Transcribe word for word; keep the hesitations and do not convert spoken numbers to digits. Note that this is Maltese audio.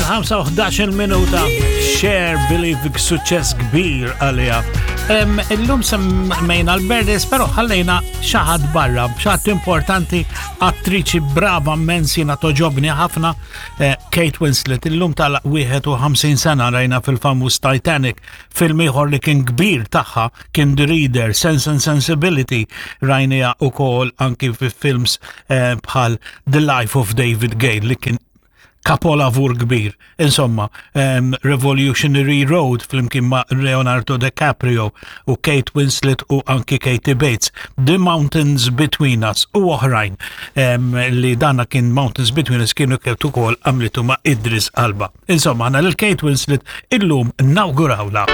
Il-ħamsa u ħdax-il minuta, Cher Believe, suċċess kbir għalija. Em, Illum semmejna l-birthdays, pero ħallejna xi ħadd barra, xi ħadd importanti, attriċi brava immens, jiena togħġobni ħafna, eh, Kate Winslet, illum tal-wieħed u ħamsin sena. Rajna fil-famuż Titanic, film ieħor li kien kbir tagħha kien The Reader, Sense and Sensibility, rajnieha ukoll anki fi films eh, bħal The Life of David Gale li kien kapolavur kbir. Insomma, um, Revolutionary Road flimkien ma' Leonardo DiCaprio u Kate Winslet u anki Katie Bates. The Mountains Between Us u oħrajn, um, li dana kien Mountains Between Us kienu kienet ukoll għamlitu ma' Idris Elba. Insomma, għana lil Kate Winslet illum nawgurawla.